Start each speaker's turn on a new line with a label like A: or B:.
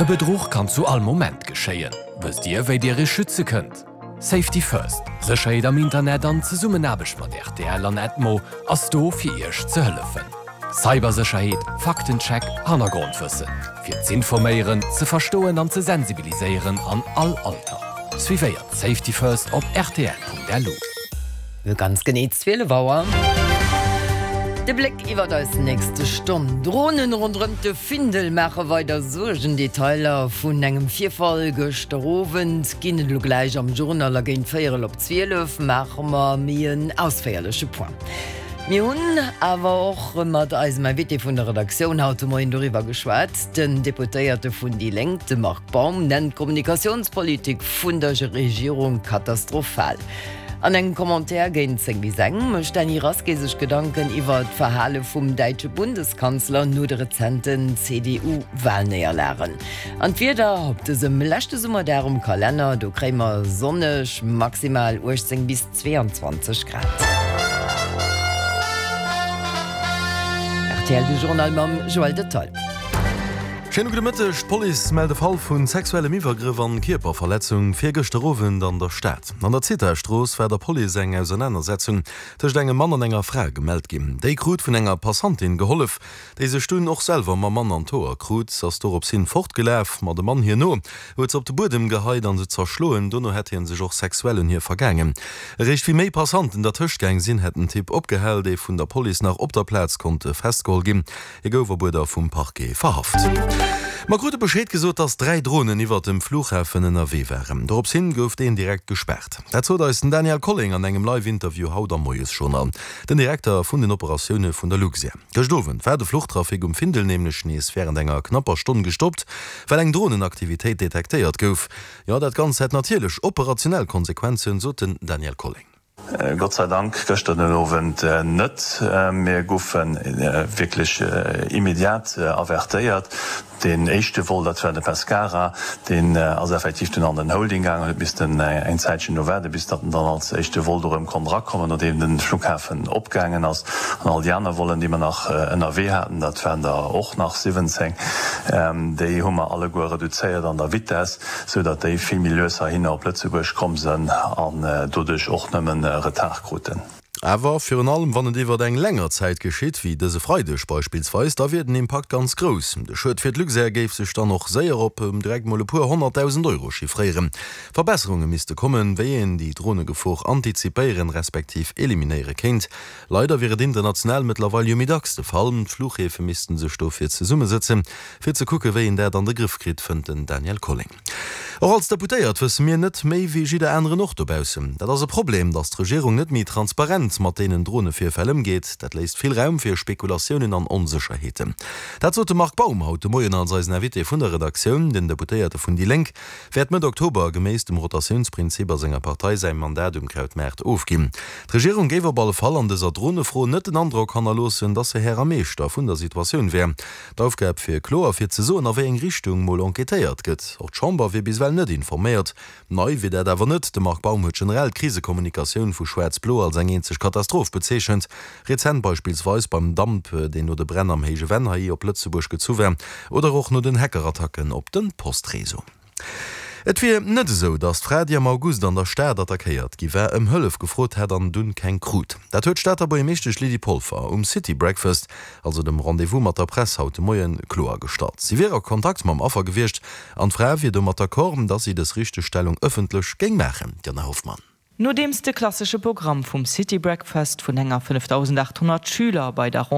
A: E Bedruch kann zu all Moment geschéien. Wësst Dir, wéi Dir Iech schütze kënnt? Safety First, Sécherheet am Internet an Zesummenaarbecht mat rtl an Edmo ass do fir Iech ze hëllefen. Cybersécherheet, Faktencheck, Hannergrondwëssen. Fir z'informéieren, ze verstoen an ze sensibiliséieren an all Alter. Suivéiert Safety First op rtl.lu.
B: Ganz genee 12 Auer. De Bléck iwwert eis nächste Stonn. Dronen ronderëm de Findel maache weider Suergen. Detailer vun engem Virfall gëschter Owend ginn et elo gläich am Journal a géint véierel op 12 maache mer méi en ausféierleche Point. Mir hunn awer och mat eisem Invité vun der Redaktioun haut de Moien doriwwer geschwat. Den Deputéierte vun déi Lénk, de Marc Baum, nennt d'Kommunikatiounspolitik vun der Regierung katastrophal. An engem Commentaire géint 10 bis eng mécht d'Dany Rasqué sech Gedanken iwwer d'Verhale vum däitsche Bundeskanzler no de rezenten CDU-Walnéierlagen. An d'Wieder op dësem leschte Summerdag um Kalenner, do kréie mer sonneg maximal 18 bis 22 Grad. Rtl, de Journal mam Joël Detaille.
C: Schéine gudde Mëtteg. D'Police mellt e Fall vu sexuellem Iwwergrëff an Kierperverletzung virgëschter Owend an der Stad. An der Zithastrooss war der Police eng Ausernanersetzung tëscht engem Mann an enger Fra gemellt ginn. Déi krut vun enger Passantin gehollef, déi sech dunn och selwer mam Mann an d'Hoer krut. Se ass dorops hin fortgelaf, ma de Mann hir no huet se op de Buedem geheit an se zerschloen. Dono hätt hie sech och sexuell un hir vergaangen. Eréischt wéi méi Passanten dertëscht gaang sinn, hätt den Typ opgehal, dee vun der Police nach op der Plaz konnt festgeholl ginn. Hie gouf op Uerder vum Parquet verhaft. Mer krute Bescheed gesot, dass 3 Dronen iwwert dem Flughafen ënnerwee waren. Dorops hin gouf deen direkt gespaart. Dat sot eis den Daniel Colling an engem Live-Interview haut am Moiesjournal, den Direkter vun den Operatioune vun der Luxair. Gëscht Owend war de Fluchtrafic um Findel nämlech nees wärend enger knapper Stonn gestoppt, well eng Dronenaktivitéit detektéiert gouf. Jo, dat Ganzt hätt natierlech operationell Konsequenzen, sot den Daniel Colling.
D: Gott sei Dank gëschter den Owend net. Mir goufe wierklech immediat avertéiert. Deen éischte Vol, dat war de Pescara, deen ass effektiv dunn an den Holding gaangen, huet missten eng Zäitchen do waarden, bis datt en dann als éischte Vol do erëm konnt erakommen, nodeem de Flughafen opgaangen ass. An all déi aner Vollen, déi mer nach ënnerwee haten, dat waren der och nach 17, déi hu mer alleguer reduzéiert an der Vitess. sou datt déi vill méi lues heihinner op Lëtzebuerg komm sënn an doduerch och nëmmen Retard kruten.
C: Awer virun allem wann et iwwert eng länger Zäit geschitt, wéi dëse Freideg beispillsweis, da wier den Impakt ganz grouss. De Schued fir d'Luxair géif sech dann och séier op direkt mol e puer 100.000 Euro chiffréieren. Verbesserunge misste kommen, wéi een déi Dronegefor antizipéieren, respektiv eliminéiere kéint. Leider wier et international mëttlerweil jo méi dacks de Fall. D'Fluchhäfe misste sech dofir zesummesëtzen, Fir ze kucke wéi een dat an de Grëff kritt, fënnt den Daniel Colling. Och als Deputéiert wësse mir net méi wéi jidder aneren och dobaussen. Dat ass e Problem, datt d'Regierung net méi transparent mat deenen Dronevirfäll ëmgeet. Dat léisst vill Raum fir Spekulatiounen an Onsécherheeten. Dat sot de Marc Baum haut de Moien als eisen Invité vun der Redaktioun. Den Deputéierte vun déi Lénk wäert Mëtt Oktober geméiss dem Rotatiounsprinzip a senger Partei säi Mandat um Krautmaart ofginn. D'Regierung géif op alle Fall an dëser Dronefro net den Androck hannerloossen, datt se Här a Meeschter vun der Situatioun wär. D'Aufgab wier kloer, fir ze soen, a wéi eng Richtung mol enquêtéiert gëtt. Och d'Chamber wier bis ewell net informéiert. Nei wier dat awer net. De Marc Baum huet generell d'Krisekommunikatioun vu Schwaarz-Blo als eng eenzeg Katastroph bezeechent. Rezent beispillsweis beim Damp, deen no de Bränn am Héije Venn hei op Lëtzebuerg gezu war, oder och no den Hackerattacken op de Postreseau. Et wier net esou, datt d'Fra, déi am August an der Stad attackéiert gi war, ëm Hëllef gefrot hätt an dunn keng krut. Dat huet d'Stater Buergermeeschtesch Lydie Polfer um City Breakfast, also dem Rendez-vous mat der Press haut de Moien, kloergestallt. Si wier a Kontakt mam Affer gewiescht an d'Fra wier domat d'accord, datt si dës Richtegstellung ëffentlech géing maachen. Diana Hoffmann.
E: Nodeems de klassesche Programm vum City Breakfast vun enger 5.800 Schüler bei der.